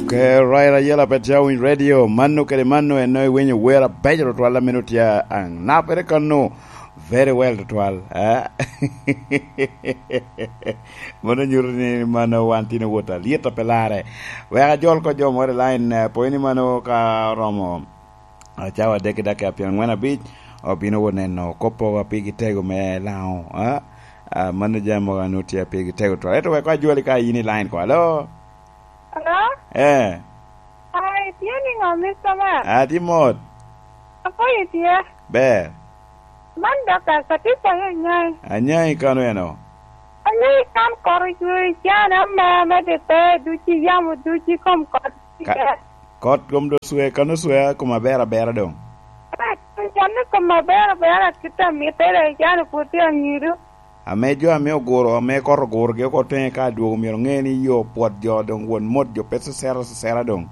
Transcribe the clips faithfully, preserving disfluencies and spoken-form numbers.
Ke Raila Yela Pet Jawiny Radio, mano kede mano en iwinyo wer abeco tutwal a meno tye anapere kano. Very well tutwal, eh? Mano nyuto ni mano wan tin owot alyet a pe larre. Wek ajol ko jo moro i line, eh, pwony ni mano ka oromo, ah, cawa adek i dakika pyerangwen abic, obino wot neno kop a pigi tego me Laŋo, eh? Ah, mano jami mogo a nwoŋo tye pigi tego tutwal. Ento wek ajoli ka in i line ko. Alo? Hello? Eh. Ai, tye niŋo, Mister Man? Atye mot. Apoyo tye. Ber. Man Doctor Satifa yo Anyai. Anyai kano eno? Anyai kan kot ocwe i can ame, ame de pe ducu i yamo ducu i kom kot. Ka-, kot kom do swe, kano swe a kom aber abera doŋ. Can ni kom aber abera kit a mittere, can pwod tye anyido. Ame jo ame oguro, ame kot ogurogi oko teŋe ka adwogo, myero oŋe ni yo pwod jo doŋ won mot jo pe cecere cecere doŋ.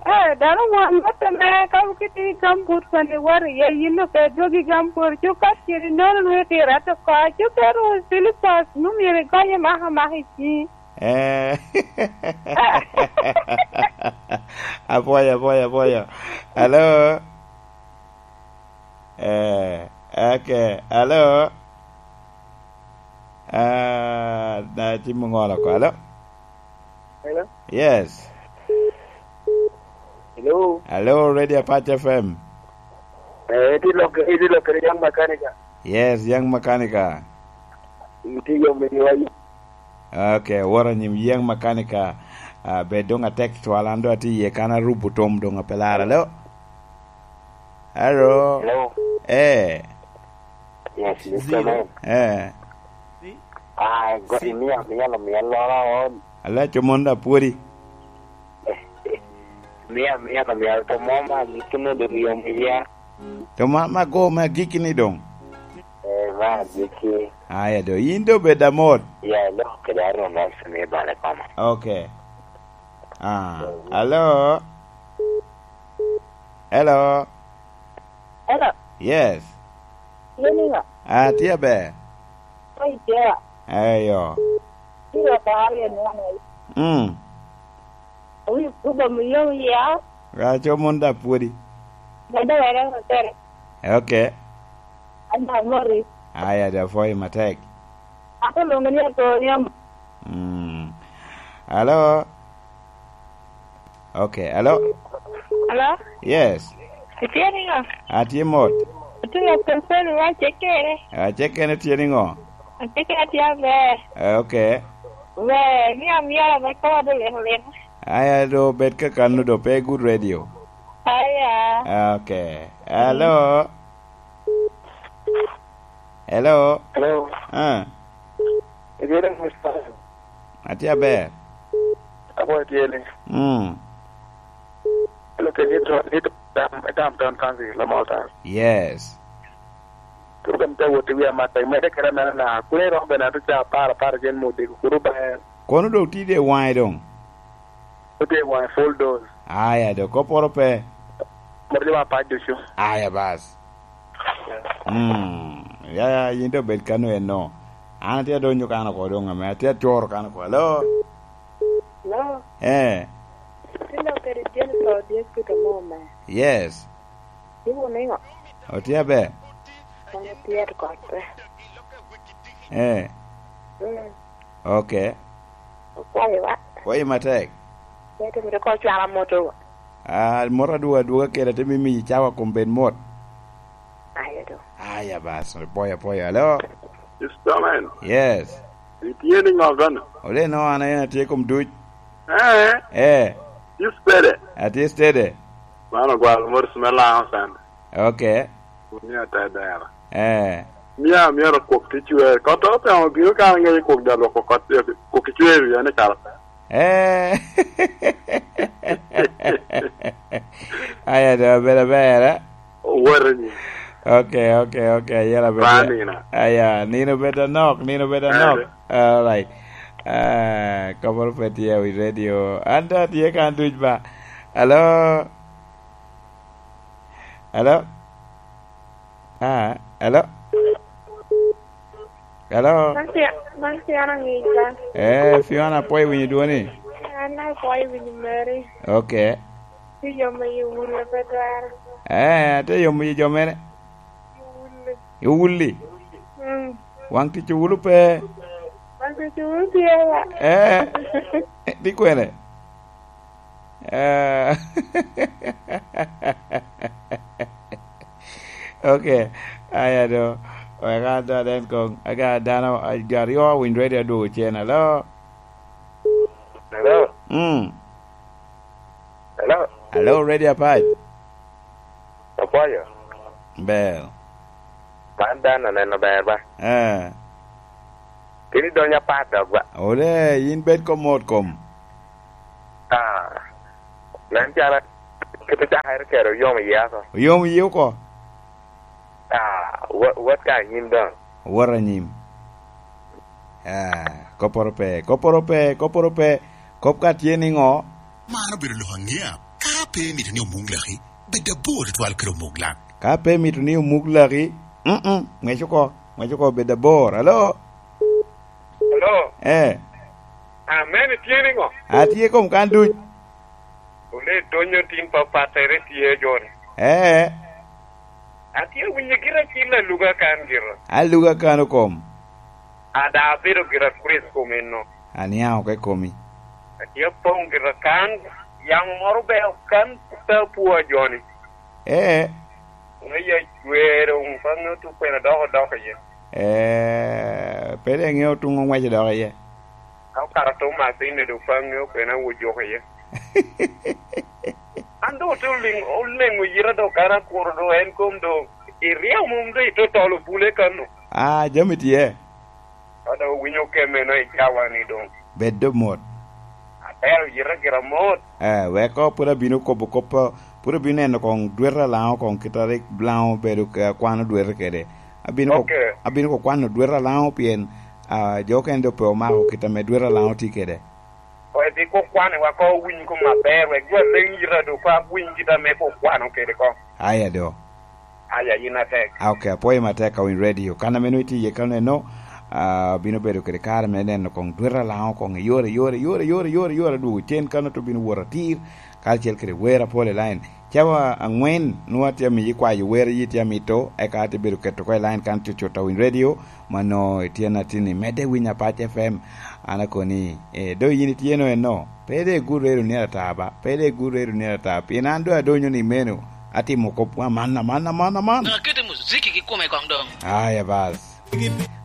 Eh, dano won mot ame ka wukiti i gambut koni wot iye, yin doŋ pe dwogi i gambut, cuk ka ciri nono nwoŋo itiro ato oko, cuk ka ru silipas, nu myero igonye maka maka i ciŋi. Eh. Apwoyo, apwoyo, apwoyo. Hello? Eh, okay. Hello? Ah, na cim oŋolo oko. Hello? Hello? Yes. Hello? Hello, Radio Apac F M. Eh, iti lok-, iti lokere Young Mechanical. Yes, Young Mechanical. Iti yo me ywayo. Okay, woro anyim Young Mechanical. Ah, bed doŋ atek twal, an doŋ atye iye kan arubo tom doŋ ape lara. Hello? Hello? Hello? Eh. Yes, Mister Man. Eh. Ah, go-, imiya, miya, miya lora on. Ala, comon da pwodi. Miya, miya, miya, to mo ma gikine do yom iya. To ma, ma go ma gikini doŋ. Eh, ma giki. Aya do, in do bed amot. Ya, lo, kede aro na sini bale kama. Okay. Ah, hello? Hello? Hello? Yes. Yin iŋo? Ah, tye aber. Oi, tye. Eyo. Tye aber, yen iŋo? Mm. Wi kubo mi yom ya. Aco mon da pwodi. Dada were hotel. Okay. Ada mori. Aya, da pwoyi matek. Ato lungo ni ato yom. Mm. Hello? Okay, hello? Hello? Yes. Itye niŋo? Atye mot. Atye ka pepelo, acekere. Acekere tye niŋo? Acekere tye aber. Eh, okay. Ber, ni amyero ame kowa do leko leko. Aya, do bed kakano, do pe good radio. Aya. Okay. Hello? Hello? Hello? Ah. Itye daŋ, Mister? Atye aber. Apwoyo tyeni. Mm. Hello, can you talk, you talk, um, Tom Tom Council, Lamar Town? Yes. Kuru bene te wot i wi amata, imedde kede amena na, kun iromo bene ato ca apar, apar acel me odiko, kuru ba en. Kono doŋ tye de waŋe doŋ? Otye waŋe full dose. Aya, do kopporo pe. Moro jo apac ducu. Aya, bas. Mm, ya, ya, yin te obed kano eno. An atye adonyo kan oko doŋ ame, atye atworo kan oko. Hello? Hello? Eh. Atye lok kede Jennifer Odhiambo Peter Moma. Yes. Iwuno niŋo? Otye aber? Wan otye ato kot pe. Eh. Mm. Okay. Okwayo wa. Kwayi matek. Ete mito ko cwala moto wa. Ah, moto adwogo adwoga kede, te mimi cawa kom bed mot. Ayo do. Aya bas, poyo, poyo. Hello? Mister Man. Yes. Itye niŋo kono? Ole no, an aye atye kom duc. Eh? Eh. Itye steady? Atye steady. Man ogwal mot me Laŋo Sande. Okay. Ni ata dera. Eh. Mia, myero kwok ki cwer. Kot otemo bino ka ŋeyo kwok da lwoko kot, kwok ki cwer wiye ni kara. Eh. Aya, do, bedo ber, eh? Owoto ni. Okay, okay, okay. Yela bedo. Ba nina. Aya, nino bedo nok, nino bedo nok. Ade. All right. Ah, kamoro pe tye wi radio. An da tye kan duc ba. Hello? Hello? Ah, hello? Hello? Man Fi-, man Fiona Ngica. Eh, Fiona, apoyo winyo dwoni. An akwayo winyo meri. Ok. Ti yomo yi wule pe twero. Eh, ate yomo yi jo mere. Wule. Yi wuli. Mm. Wang tic wulu pe. Wang tic wulu tye ba. Eh. Di kwene. Eh. Ok. Aya do. Wek an do aden kong. Aga dano, a, jo aryo winy ready adwogo cen. Hello? Hello? Mm. Hello? Hello, ready apac? Apwoyo. Ber. An dan aneno ber ba. Eh. Kini donyo apat dok ba. Ole, yin bed kom mot kom. Ah. Nen cala kit cakere kero yom iye ako. Oyom iye oko. Ah, wa-, wat ka anyim doŋ. Wot anyim. Ah, kopporo pe, kopporo pe, kopporo pe. Kop ka tye niŋo? Man obedo lok aŋea. Ka pe imito ni omuk laki, bed abor tutwal kede omuk lak. Ka pe imito ni omuk laki, mm-mm, ŋwec oko, ŋwec oko, bed abor. Alo? Hello? Eh. Amen, itye niŋo? Atye kom kan duc. Ole donyo tin papattere tye, John. Eh. Atye winyo gira cil aluga kan gira. Aluga kan okom. Ada abedo gira Chris kom eno. Aniaŋ oko i komi. Atye apoŋ gira kan, yamo moro be okan ta pwo a Joni. Eh. Ŋeya jwero, ŋ-, ka ŋeo tuk kwena dok odok iye. Eh, pe de ŋeo tuŋ oŋwec odok iye. Ka okato tung masini do pa ŋeo kwena wujuk iye. An doŋ ote oliŋ-, oleŋo yita do kara kuro do en kom do iryeo mom do itotolo bule kano. Ah, jami tye. Ka doŋ owinyo kemeno i cawa ni doŋ. Bed do mot. Atero yita gira mot. Eh, weko pwod abino kobo kop, pwod abino neno koŋ dwete a Laŋo koŋ kit a rik Laŋo obedo ka kwano dwete kede. Abino ko-, Ok. Abino ko kwano dwete a Laŋo pien, ah, jo okene do pe omako kit ame dwete a Laŋo tye kede. Wek bi ko kwani wa ko winy ko maber, wek jo aleng yita do ko awiny kit ame ko kwano kede ko. Aya do. Aya, yin atek. Ah, ok, apwoyo matek ka winy radio. Kan ame nongo itye iye kano eno, ah, bino bedo kede kare me neno koŋ dwete a Laŋo koŋ i yore, yore, yore, yore, yore, yore, adwogo cen kano to bino wot atir, karacel kede wer apol i line. Cawa aŋwen, nwoŋo atye amiyi kwayo wer, yi tye amito, eka atye bedo keto oko i line kan cut cut a winy radio, mano itye na tin i medde winy Apac F M. An akoni, eh, do yin itye no eno, pe de igur redo ni ata ba, pe de igur redo ni ata, pien an do adonyo ni meno, atimo kop aman, aman, aman, aman. Doŋ akete muziki gi kome koŋ doŋ. Aya bas.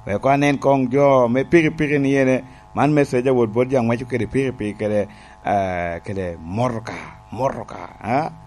Wek anen koŋ jo me pikipiki ni ene, man message awot bot jo aŋweco kede pikipiki kede, eh, kede motoka, motoka, eh?